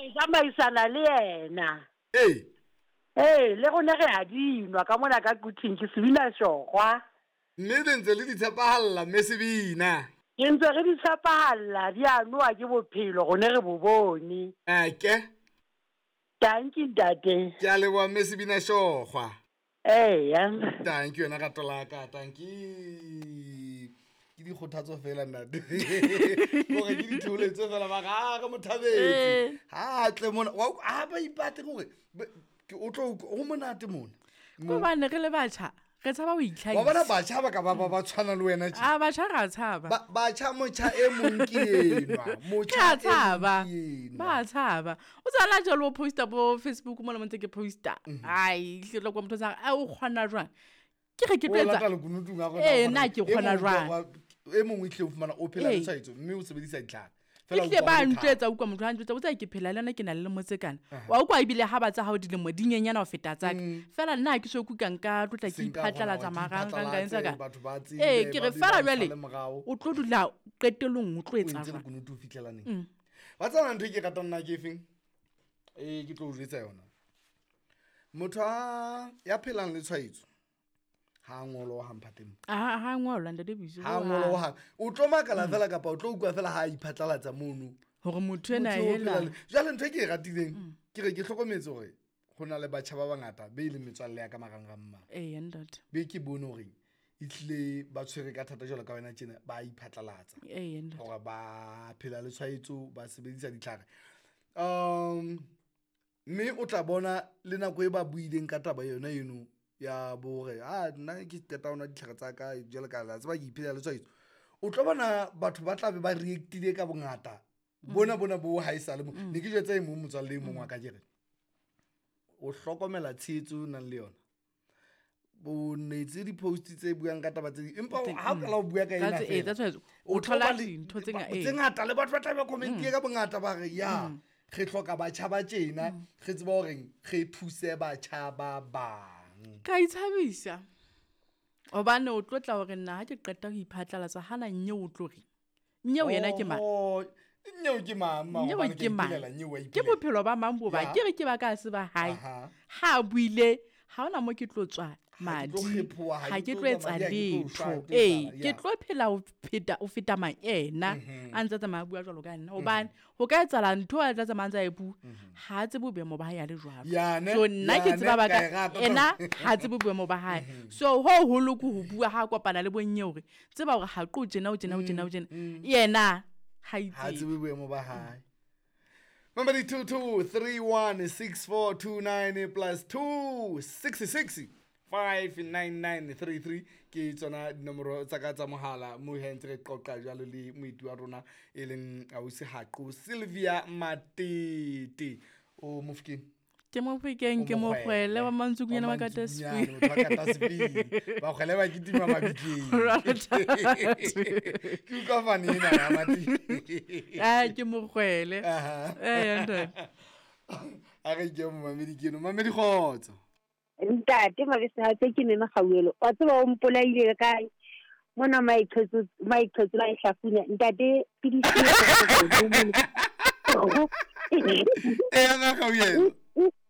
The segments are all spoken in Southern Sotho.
Re tsamaisana le yena. Ee. Ee, le rona re a dinwa ka mona ka Quthing, ke Sebina Shokgwa. Mme le ntse le di tshepahalla, mme Sebina? Re ntse re di tshepahalla, di a nowa ke bophelo, rone re bo bone. Eke. Tanki ntate. Ke a leboha mme Sebina Shokgwa. Eya. Tanki wena rato la ka, tanki. Ke dikgothatso fela ntate. Gore ke ditheoletso fela ba ga re mo thabetse. Ha tle mona, wa a ba ipate gore ke o tlo go monate mona. Gobane re le batjha, re tshaba ho itlhahisa. Wa bona batjha ba ka ba ba tshwana le wena tje. A batjha ra tshaba. Batjha motjha e mong ke enwa. Motjha e tshaba. Ba tshaba. O tsala jalo o posta bo Facebook mo le mo ntse ke posta. Ai, hle tlo kwa motho sa a o kgona jwang? Ke re ke tlo etsa. Eh, nna ke kgona jwang? E mongwe tle o fumana o phela le tshwaetso mme o sebedisa ditlhare. Ehlile ba ntjwetsa utlwa motho a ntjwetsa o tsaya ke phela le yona ke na le lemo tse kana. Wa utlwa ebile ha ba tsa hao dilemo di nyenyana ho feta tsa ka. Fela nna ha ke so kuka nka tlotla ke iphatlalatsa marangrang ka etsa ka. Ee, ke re fela jwale o tlo dula qetellong o tlo etsa jwang? Lekunutu o fihlela neng? Wa tseba ntho e ke ratang nna ke efeng? E ke tlo o jwetsa yona. Motho a ya phelang le tshwaetso ha ngoloha mphateng. Ha ngolwa ntate Biso. Ha ngoloha. O tlo makala fela kapa o tlo utlwa fela ha iphatlalatsa mono. Hore motho ena hela. Jwale ntho e ke e ratileng ke re ke hlokometse hore ho na le batjha ba bangata be e leng metswalle ya ka marangrang ma. Ee ntate. Be ke bone hore ehlile ba tshwere ka thata jwalo ka wena tjena ba iphatlalatsa. Ee ntate. Hore ba phela le tshwaetso ba sebedisa ditlhare. Mme o tla bona le nako e ba buileng ka taba yona eno ya bore a nna ke qeta ho nwa ditlhare tsa ka jwale ka la tseba ke iphelela le tshwaetso. O tlo bona batho ba tla be ba react-ile ka bongata bona bona bo ha e sale mo. Ne ke jwetsa e mong motswalle e mong wa ka ke re o hlokomela tshehetso o nang le yona. Bo netse di-post tse buang ka taba tse ding empa ha o qala ho bua ka ena fela o thola dintho tse ngata le batho ba tla be comment-ile ka bongata ba re ya re hloka batjha ba tjena re tseba hore re thuse batjha ba bang. Ka itshabisa hobane o tlo tla hore nna ha ke qeta ho iphatlalatsa hana nyeo o tlo re nyeo yena ke mang? Nyeo ke mang? Nyeo ke mang? Ke bophelo ba mang bo ba? Ke re ke ba ka se ba hae. Ha buile ha ona mo ke tlo tswa madi. Ha ke tlo etsa letho. Ee, ke tlo phela ho pheta o feta mang ena a ntse tsamaya bua jwalo ka nna. Hobane ho ka etsahala ntho a tla tsamaya ntse a e bua. Ha tsebe boemo ba hae a le jwalo. So nna ke tseba ba ka ena ha tsebe boemo ba hae. So ho holo ke ho bua ha kopana le bonnye hore tseba hore ha qo tjena o tjena o tjena o tjena. Yena ha itse. Ha tsebe boemo ba hae. Number 22316429 plus 266 59933 ke tsona dinomoro tsa ka tsa mohala mo he ntse re qoqa jwalo le moeti wa rona e leng ausi Haqo Sylvia Matete. O Mofokeng? Ke Mofokeng, ke Mokgwele wa Mantsukunyana wa Katasipili. Ba kgwele ba kitima mabitleng. Ke utlwa fane ena ya Matete. Ah, ke Mokgwele. Eh, ntate. A re ke momamedi ke eno. Mamedi kgotso. Ntate Mabese tse ke mema gauelo. Wa tseba o mpolaile ka mona maiqhetso maiqhetso la hlafunya. Ntate pidisi. E nga gauelo.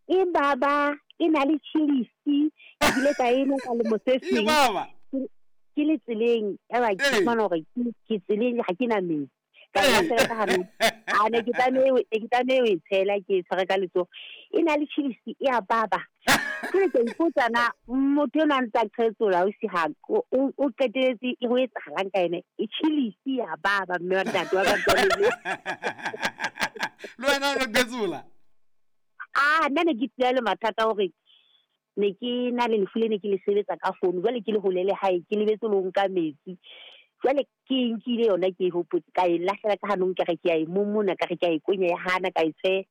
E baba e na le chilisi ebile ka ena ka lemo se seng. E baba. Ke le tseleng ya ba ke fumana hore ke tseleng ha ke na metsi. Ka lahlela ka hare. A ne ke tlameha ho e tshela ke e tshware ka letsoho. E na le chilisi e a baba. Ke ke ipotsa na motho enwa a ntsa qhetsola o si ha o qetelletse e ho etsahalang ka ene. E chilisi ya baba mme wa ntate wa ka. Le wena o qhetsola? Ah, nna ne ke tsela le mathata hore ne ke na le lefu le ne ke le sebetsa ka founu. Jwale ke le hole le hae ke lebetse le ho nka metsi. Jwale ke nkile yona ke e hopotse ka e lahlela ka hanong ke re ke a e momona ka re ke a e konya ya hana ka e tshe.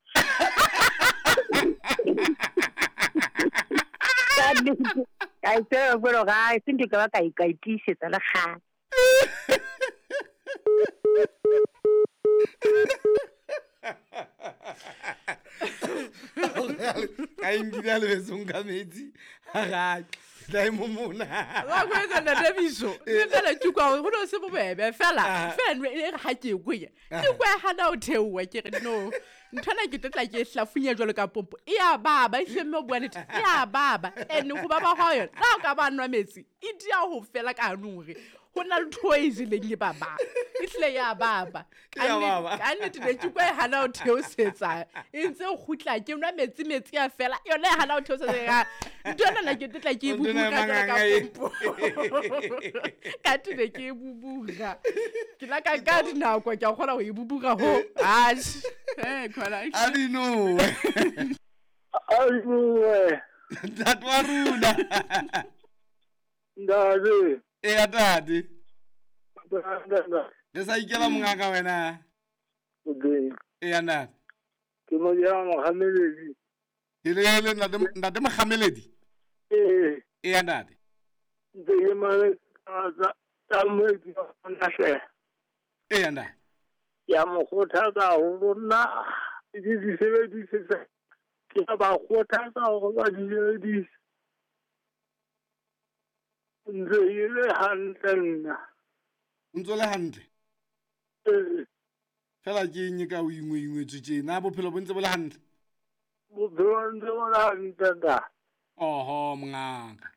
Ka e tshe jwalo ga e sentse ka ba ka e ka e tiisetsa le kgale. Ka e nkile a lebetse ho nka metsi. Ga tla e momona. Wa go etsa ntate Biso. Le fela ke kwa go no se bobebe fela. Fela e re ha ke kwenya. Ke kwa hana o theoha ke re no. Nthwana ke tla ke hlafunya jwalo ka pompo. E ya baba e hle mme o bua nnete. E ya baba. And go baba ga yona. La o ka ba nwa metsi. E dia ho fela ka hanong hore ho na le ntho e jeleng e baba. E hlile ya baba. E ya baba. Ka nnete ne ke kwa e hana ho theosetsa. E ntse e kgutla ke nwa metsi metsi a fela. Yona e hana ho theosetsa ya. Ntho ena na ke tla ke e Ntho ena e bubuga jwalo ka manganga e. pompo. Ka te ne ke e bubuga. Ke la ka ka dinako ke a kgona ho e bubuga ho. Atjhe. Eh, khona. A di nowe. Aduwe, Ntate wa rona. ntate, Eya tate. ntate, Re sa ikela mongaka wena. okay. Eya ntate. Ke mo ya mohameledi. Ele ntate ntate Mokgameledi. Eh, Eya ntate. ntse ke mane tsa tsa moetsi wa nahle. Eya ntate. Ke a mo kgothatsa haholo nna ke di sebedise ke a ba kgothatsa hore ba di sebedise. Ntse ke le hantle nna. O ntso le hantle. Eh, Fela ke eng e ka o ingwe ingwetswe tjena bophelo bo ntse bo le hantle. bophelo ntse bo le hantle ntate. Oho mongaka.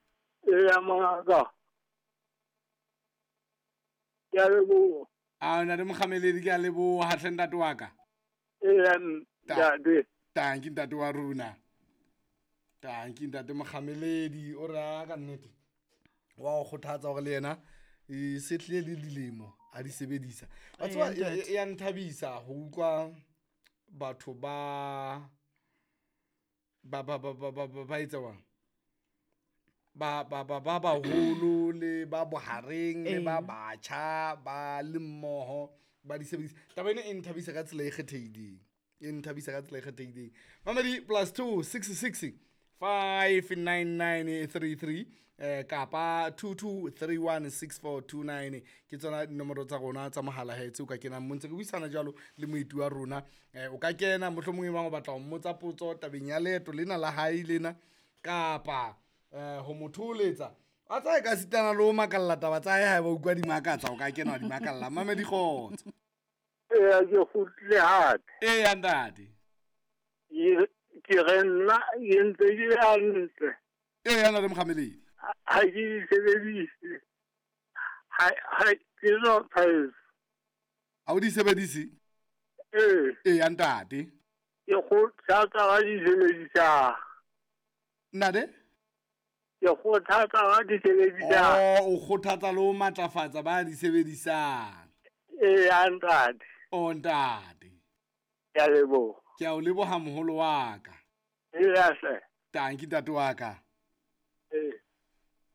Eya mongaka. Ke a leboha. A ntate Mokgameledi ke a leboha hle ntate wa ka. Eya ntate. Tanki ntate wa rona. Tanki ntate Mokgameledi o re a ka nnete. Wa o kgothatsa hore le yena e se tlile le dilemo a di sebedisa. Wa tseba Eya, ntate. e ya nthabisa ho utlwa batho ba ba ba ba ba ba ba ba etsa jwang? Ba ba ba ba baholo le ba bohareng le ba Ee. batjha ba le mmoho ba di sebedisa. Taba ena e nthabisa ka tsela e kgethehileng. E nthabisa ka tsela e kgethehileng. Mamedi +2 66 59933 kapa 22316429 ke tsona dinomoro tsa rona tsa mohala he tse o ka kenang mo ntse re buisana jwalo le moeti wa rona. O ka kena mohlomong e bang o batla ho mmotsa potso tabeng ya leeto lena la hae lena kapa ho mo thoholetsa. A tsa e ka sitana le ho makalla taba tsa hae haeba o utlwa di makatsa o ka kena wa di makalla. Mamedi kgotso. Eya ke kgutlile hape. Eya ntate. Ke re nna ke ntse ke le hantle. Eya ntate Mokgameledi. Ha ke di sebedise. Ha ha ke no tshwaetso. Ha o di sebedise? Ee. Eya ntate. Ke kgothatsa ba di sebedisang. Ntate? Ke kgothatsa ba di sebedisang. Oh, o kgothatsa le ho matlafatsa ba di sebedisang. Eya ntate. Oh ntate. Ke a leboha. Ke a o leboha moholo wa ka. Eya hle. Tanki ntate wa ka. Ee.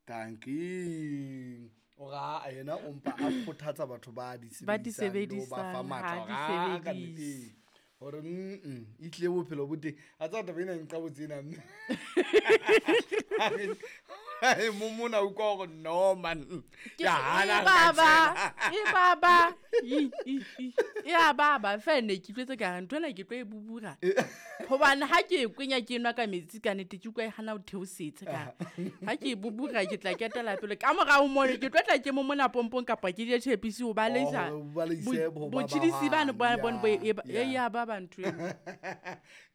Tanki. O ra a yena o mpa a kgothatsa batho ba di Ba di sebedisang le ho ba fa sebedisang, matla ha di hore, ah, ka sebedise. nnete. Hore e tlile bophelo bo teng. A tseba taba ena e nqabotse ena mme. Hae momona o utlwa hore no man. Ke Ya hana e re ka baba, tshela. e baba. I, i, i. E ya baba fela ne ke utlwetse ka re ntho ena ke tlo e bubura. Hobane ha ke e kwenya ke nwa ka metsi ka nnete ke utlwa e hana ho theosetsa ka. Ha ke e bubura ke tla ketela pele. Ka morao mono ke tlo tla ke momona pompong kapa ke je tjhepisi ho baleisa. Oh, ho baleise ho ba Botjhidisi bane bahang. bo bone bo Ya, e ba ya. e ya baba ntho eno.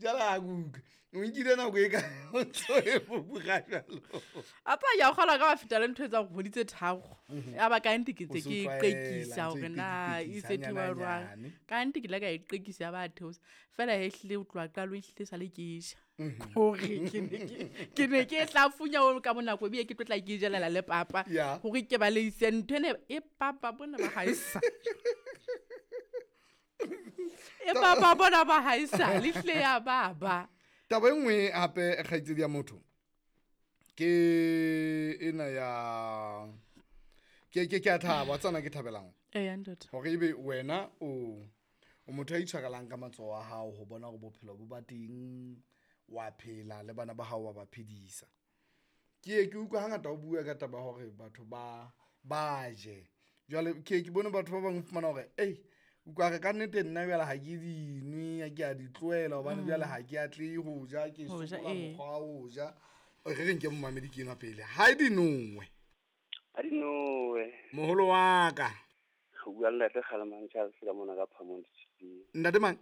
Jwale ha ke utlwe. O nkile nako e ka o ntso e bubura jwalo. A tsa ya kgolwa ka ba feta le ntho e etsang kgwedi tse tharo. Ya ba ka nnete ke O ntse so ke e tlwaela, qekisa ntse hore e na e qekisa se theoha jwang. hanyane-hanyane. Ka nnete ke ile ka e qekisa ya ba theosa. Feela he ehlile ho tloha qalong ehlile sale ke e ja. Hore ke ne ke e hlafunya ho ka bonako ebile ke tlo tla ke e jelela le papa. Ya. Hore ke baleise ntho ena e papa bona ba haesale. E papa bona ba haesale ehlile ya baba. Taba e nngwe hape kgaitsedi ya motho ke ena ya ke a thaba wa tseba nna ke thabelang Eya ntate. hore ebe wena o o motho ya itshwarelang ka matsoho a hao ho bona hore bophelo bo ba teng wa phela le bana ba hao wa ba phedisa. Ke ye ke utlwa hangata o bua ka taba ya hore batho ba ba je. Jwale ke ye ke bone batho ba bang o fumana hore ei utlwa re ka nnete nna jwale ha ke dinwe, ke a di tlohela hobane jwale ha ke atlehe ho ja, ke Ho ja, sokola ee. mokgwa wa ho ja. Re re nke momamedi ke enwa pele. Ha di nowe. Ha di nowe. Moholo wa ka. O bua le Ntate Kgalemang Charles ka mona ka Phamong Ditshiping. Ntate mang?